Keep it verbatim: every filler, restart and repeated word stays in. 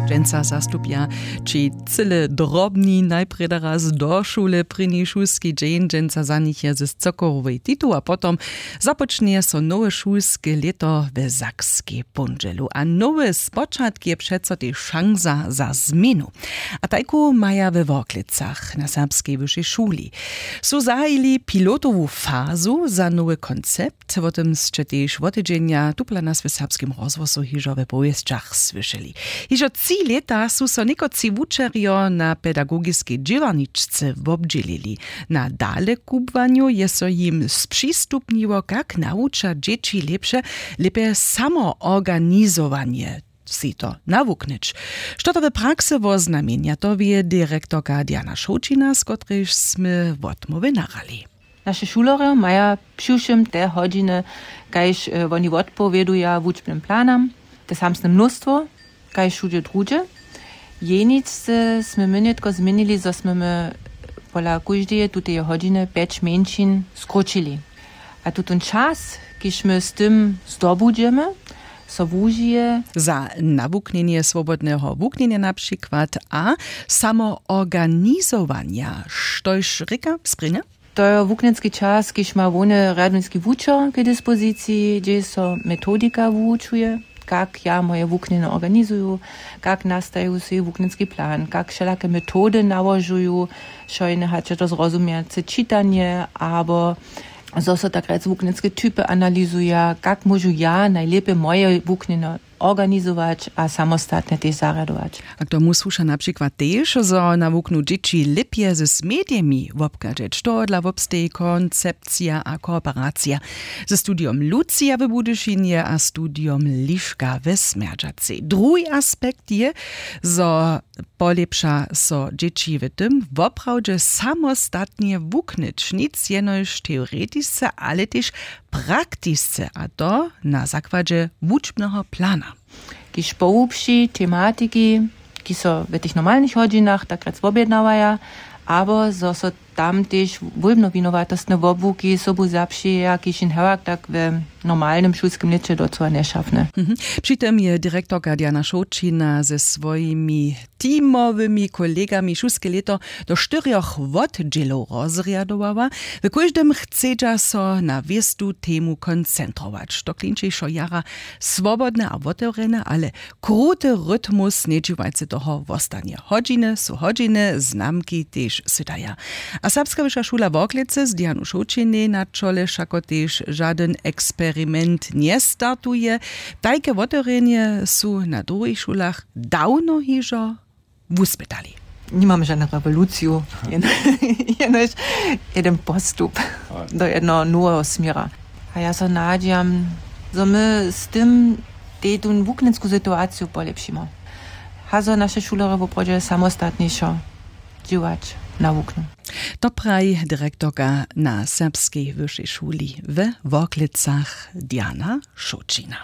Dźensa zastupja ći cyle drobni najprjedy raz do šule. Prěni šulski dźeń dźensa za nich je z cokowowej titu a potom započnje so nowe šulske lěto w sakskej póndźelu a nowy spočatk je přeco tež šansa za změnu. A tajku maja we worklecach na serbskej wyšej šuli su zahajili pilotowu fazu za nowy koncept. Wo tym sće tež wotedźenja tupola nas w serbskim rozhłosu hižo we powěsćach słyšeli. Hižo tři lěta su so někotři wučerjo na pedagogiskej dźěłarničce wobdźělili. Na dalekubłanju je so jim spřistupniło kak nawuča dźěći lěpše, lěpje samoorganizowanje sej to nawuknyć. Što to w praksy woznamjenja, to wě direktorka Diana Šołćina, z kotrejž smy wotmołwy nahrali. Naše šulerjo maja přiwšěm te hodźiny, kaž woni wotpowěduja wučbnym planam, te samsne mnóstwo kaž wšudźe druhdźe. Jeničce smy my nětko změnili, zo smy my pola kóždeje tuteje hodźiny pjeć mjeńšin skróćili. A tutón čas, kiž my z tym zdobudźemy, so wužije za nawuknjenje swobodneho wuknjenja na přikład a samoorganizowanja, štož rěka sprěnja. To je wuknjenski čas, kiž ma hłowny rjadowniski wučer k dispoziciji, hdźež so metodika wuwučuje, kak ja moje wuknjenje organizuju, kak nastaju swój wuknjenski plan, kak wšelake metody nałožuju, šojne hač je to zrozumjace čitanje abo zo so tak rjec wuknjenske typy analizuja, kak móžu ja najlěpje moje wuknjenje organizować a samostatnje tež zarjadować. A k tomu słuša na přikład tež, zo nawuknu dźěći lěpje z medijemi wobchadźeć. Tohodla wobsteji koncepcija a kooperacija ze studijom Lucija w Budyšinje a studijom Liška we Smjerdźacej. Druhi aspekt je, zo polěpša so dźěći w tym, woprawdźe samostatnje wuknyć, nic jenož teoretisce, ale tež praktisce, a to na zakładźe wučbneho plana. Kiž pohłubši tematiki, ki so w tych normalnych hodźinach tak rjec wobjednawaja, abo zo so tam tež wólbnowinowatostne wobłuki sobu zapřijeja, kiž jim hewak tak w normalnym šulskim lěće docyła nješafne. Mhm. Při tym je direktorka Diana Šołćina ze swojimi teamowymi kolegami šulske lěto do štyrjoch wotdźělow rozrjadowała. W kóždym chcedźa so na wěstu temu koncentrować. To klinčejšo jara swobodne a wotewrjene, ale kruty rytmus, njedźiwajcy toho, wostanje. Hodźiny su hodźiny, znamki tež sydaja. A Serbska wyša šula Worklecy z Dianu Šołćinej na čole wšako tež žadyn eksperiment njestartuje. Tajke wotewrjenje su na druhich šulach dawno hižo wuspytali. Nimam žadnu rewoluciju, jen-, jenož jeden postup do jednoho noweho směra. A ja so nadźijam, zo my z tym tej tu wuknjensku situaciju polěpšimy. Hazo naše šulerjo woprawdźe samostatnišo dźěłać nawuknu. To praji direktorka na Serbskej wyšej šuli we Worklecach Diana Šołćina.